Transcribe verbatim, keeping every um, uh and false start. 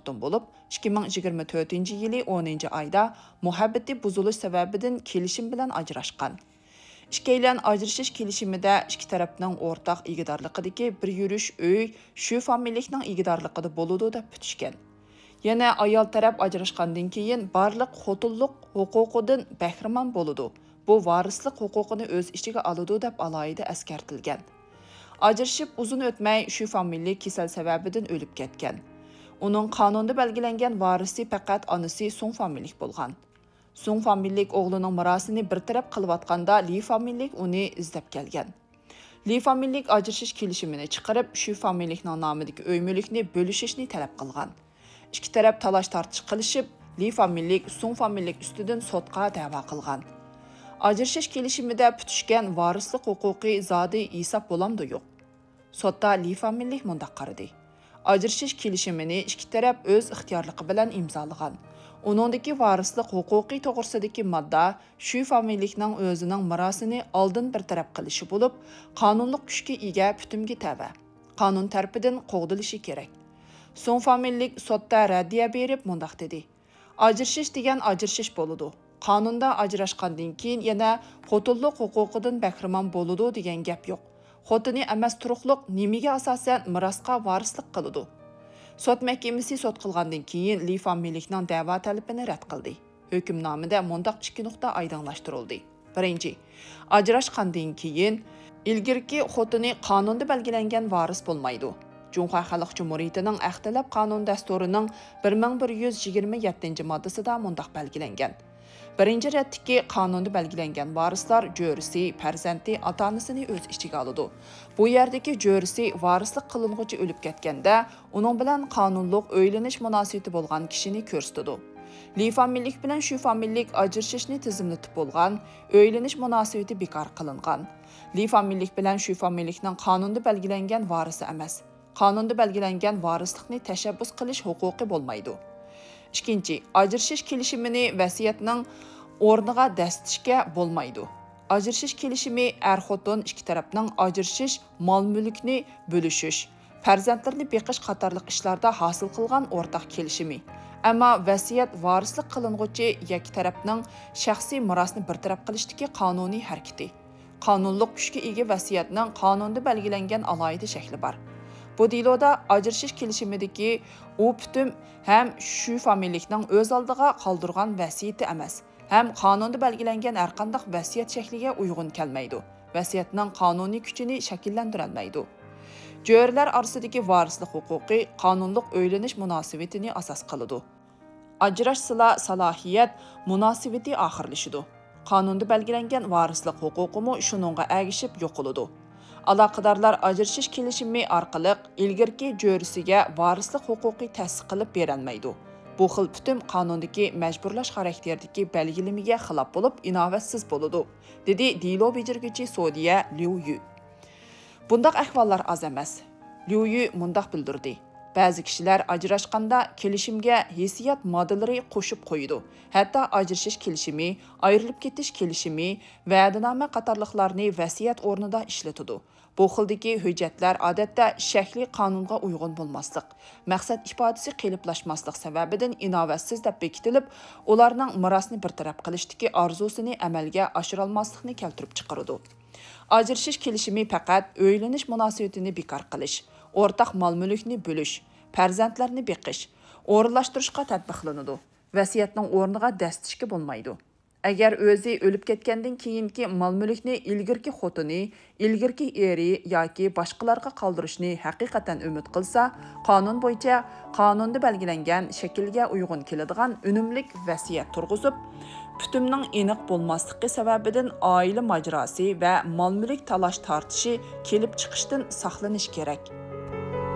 تۇتتۇم بولۇپ، ئىككى مىڭ يىگىرمە تۆتىنچى يىلى ئونىنچى ئايدا مۇھەببىتى بۇزۇلۇش سەۋەبىدىن كېلىشىم بىلەن ئاجراشقان. ئىككىيلەن ئاجرىشىش كېلىشىمىدە ئىككى تەرەپنىڭ ئورتاق ئىگىدارلىقىدىكى بىر يۈرۈش ئۆي شۇ فامىلىلىكنىڭ ئىگىدارلىقىدا بولىدۇ دەپ پۈتۈشكەن. يەنە ئايال تەرەپ ئاجراشقاندىن كېيىن بارلىق خوتۇنلۇق ھوقۇقىدىن بەھرىمەن بولىدۇ، بۇ ۋارىسلىق ھوقۇقىنى ئۆز ئىچىگە ئالىدۇ دەپ ئالاھىدە ئەسكەرتىلگەن. ئاجرىشىپ ئۇزۇن ئۆتمەي شۇ فامىلىلىك كېسەل سەۋەبىدىن ئۆلۈپ كەتكەن. ئۇنىڭ قانۇندا بەلگىلەنگەن ۋارىسى پەقەت ئانىسى سۇڭ فامىلىلىك بولغان. سۇڭ فامىلىلىك ئوغلىنىڭ مىراسىنى بىر تەرەپ قىلىۋاتقاندا لى فامىلىلىك ئۇنى ئىزدەپ كەلگەن. لى فامىلىلىك ئاجرىشىش كېلىشىمىنى چىقىرىپ، شۇ فامىلىلىكنىڭ نامىدىكى ئۆي مۈلۈكنى بۆلۈشۈشنى تەلەپ قىلغان. ئىككى تەرەپ تالاش-تارتىش قىلىشىپ، لى فامىلىلىك سۇڭ فامىلىلىك ئۈستىدىن سوتقا دەۋا قىلغان. ئاجرىشىش كېلىشىمىدە پۈتۈشكەن ۋارىسلىق ھوقۇقى زادى ھېساب بولامدۇ يوق؟ سوتتا لى فامىلىلىك مۇنداق قارىدى: ئاجرىشىش كېلىشىمىنى ئىككى تەرەپ ئۆز ئىختىيارلىقى بىلەن ئىمزالىغان. ئۇنىڭدىكى ۋارىسلىق ھوقۇقى توغرىسىدىكى ماددا شۇ فامىلىلىكنىڭ ئۆزىنىڭ مىراسىنى ئالدىن بىر تەرەپ قىلىشى بولۇپ، قانۇنلۇق كۈچكە ئىگە پۈتۈمگە تەۋە. قانۇن تەرىپىدىن قوغدىلىشى كېرەك. سۇڭ فامىلىلىك سوتتا رەددىيە بېرىپ مۇنداق دېدى: ئاجرىشىش دېگەن ئاجرىشىش بولىدۇ. قانۇندا ئاجراشقاندىن كېيىن يەنە خوتۇنلۇق ھوقۇقىدىن بەھرىمەن بولىدۇ دېگەن گەپ يوق. خوتۇنى ئەمەس تۇرۇقلۇق نېمىگە ئاساسەن مىراسقا ۋارىسلىق قىلىدۇ؟ سوت مەھكىمىسى سوت قىلغاندىن كېيىن لى فامىلىلىكنىڭ دەۋا تەلىپىنى رەت قىلدى. ھۆكۈمنامىدە مۇنداق ئىككى نۇقتا ئايدىڭلاشتۇرۇلدى. بىرىنچى، ئاجراشقاندىن كېيىن ئىلگىرىكى خوتۇنى قانۇندا بەلگىلەنگەن ۋارىس بولمايدۇ. جۇڭخۇا خەلق جۇمھۇرىيىتىنىڭ ئەخلەتلەپ قانۇن دەستۇرىنىڭ بىر مىڭ بىر يۈز يىگىرمە يەتتىنچى ماددىسىدا مۇنداق بەلگىلەنگەن: بىرىنچى رەتتىكى قانۇندا بەلگىلەنگەن ۋارىسلار جۆرىسى، پەرزەنتى، ئاتا-ئانىسىنى ئۆز ئىچىگە ئالىدۇ. بۇ يەردىكى جۆرىسى ۋارىسلىق قىلىنغۇچى ئۆلۈپ كەتكەندە، ئۇنىڭ بىلەن قانۇنلۇق ئۆيلىنىش مۇناسىۋىتى بولغان كىشىنى كۆرسىتىدۇ. لى فامىلىلىك بىلەن شۈ فامىلىلىك ئاجرىشىشنى تىزىملىتىپ بولغان ئۆيلىنىش مۇناسىۋىتى بىكار قىلىنغان. لى فامىلىلىك بىلەن شۈ فامىلىلىكنىڭ قانۇندا بەلگىلەنگەن ۋارىسى ئەمەس. قانۇندا بەلگىلەنگەن ۋارىسلىقنى تەشەببۇس قىلىش ھوقۇقى بولمايدۇ. ئىككىنچى، ئاجرىشىش كېلىشىمىنى ۋەسىيەتنىڭ ئورنىغا دەسسىتىشكە بولمايدۇ. ئاجرىشىش كېلىشىمى ئەر-خوتۇن ئىككى تەرەپنىڭ ئاجرىشىش، مال-مۈلۈكنى بۆلۈشۈش، پەرزەنتلىرىنى بېقىش قاتارلىق ئىشلاردا ھاسىل قىلغان ئورتاق كېلىشىمى. ئەمما ۋەسىيەت ۋارىسلىق قىلىنغۇچى يەككە تەرەپنىڭ شەخسىي مىراسنى بىر تەرەپ قىلىشتىكى قانۇنىي ھەرىكىتى. قانۇنلۇق كۈچكە ئىگە ۋەسىيەتنىڭ قانۇندا بەلگىلەنگەن ئالاھىدە شەكلى بار. بۇ دېلودا ئاجرىشىش كېلىشىمىدىكى ئۇ پۈتۈم ھەم شۈ فامىلىلىكنىڭ ئۆز ئالدىغا قالدۇرغان ۋەسىيىتى ئەمەس، ھەم قانۇندا بەلگىلەنگەن ھەرقانداق ۋەسىيەت شەكلىگە ئۇيغۇن كەلمەيدۇ، ۋەسىيەتنىڭ قانۇنىي كۈچىنى شەكىللەندۈرەلمەيدۇ. جۆرىلەر ئارىسىدىكى ۋارىسلىق ھوقۇقى قانۇنلۇق ئۆيلىنىش مۇناسىۋىتىنى ئاساس قىلىدۇ. ئاجراشسىلا سالاھىيەت مۇناسىۋىتى ئاخىرلىشىدۇ. قانۇندا بەلگىلەنگەن ۋارىسلىق ھوقۇقىمۇ شۇنىڭغا ئەگىشىپ يوقىلىدۇ. ئالاقىدارلار ئاجرىشىش كېلىشىمى ئارقىلىق ئىلگىرىكى جۆرىسىگە ۋارىسلىق ھوقۇقى تەسىس قىلىپ بېرەلمەيدۇ. بۇ خىل پۈتۈم قانۇندىكى مەجبۇرلاش خاراكتېرىدىكى بەلگىلىمىگە خىلاپ بولۇپ، ئىناۋەتسىز بولىدۇ، دېدى دېلو بېجىرگۈچى سودىيە ليۇ يۈ. بۇنداق ئەھۋاللار ئاز ئەمەس. ليۇ يۈ مۇنداق بىلدۈردى: بەزى كىشىلەر ئاجراشقاندا كېلىشىمگە ھېسسىيات ماددىلىرى قوشۇپ قويىدۇ، ھەتتا ئاجرىشىش كېلىشىمى، ئايرىلىپ كېتىش كېلىشىمى، ۋەدىنامە قاتارلىقلارنى ۋەسىيەت ئورنىدا ئىشلىتىدۇ. بۇ خىلدىكى ھۆججەتلەر ئادەتتە شەكلىي قانۇنغا ئۇيغۇن بولماسلىق، مەقسەت ئىپادىسى قېلىپلاشماسلىق سەۋەبىدىن ئىناۋەتسىز دەپ بېكىتىلىپ، ئۇلارنىڭ مىراسنى بىر تەرەپ قىلىشتىكى ئارزۇسىنى ئەمەلگە ئاشۇرالماسلىقنى كەلتۈرۈپ چىقىرىدۇ. ئاجرىشىش كېلىشىمى پەقەت ئۆيلىنىش مۇناسىۋىتىنى بىكار قىلىش، ئورتاق مال-مۈلۈكنى بۆلۈش، پەرزەنتلەرنى بېقىش، ئورۇنلاشتۇرۇشقا تەتبىقلىنىدۇ. ۋەسىيەتنىڭ ئورنىغا دەسسىتىشكە بولمايدۇ. ئەگەر ئۆزى ئۆلۈپ كەتكەندىن كېيىنكى مال-مۈلۈكنى ئىلگىرىكى خوتۇنى، ئىلگىرىكى ئېرى ياكى باشقىلارغا قالدۇرۇشنى ھەقىقەتەن ئۈمىد قىلسا، قانۇن بويىچە قانۇندا بەلگىلەنگەن شەكىلگە ئۇيغۇن كېلىدىغان ئۈنۈملۈك ۋەسىيەت تۇرغۇزۇپ، پۈتۈمنىڭ ئېنىق بولماسلىقى سەۋەبىدىن ئائىلە ماجىراسى ۋە مال-مۈلۈك تالاش-تارتىشى كېلىپ چىقىشتىن ساقلىنىش كېرەك.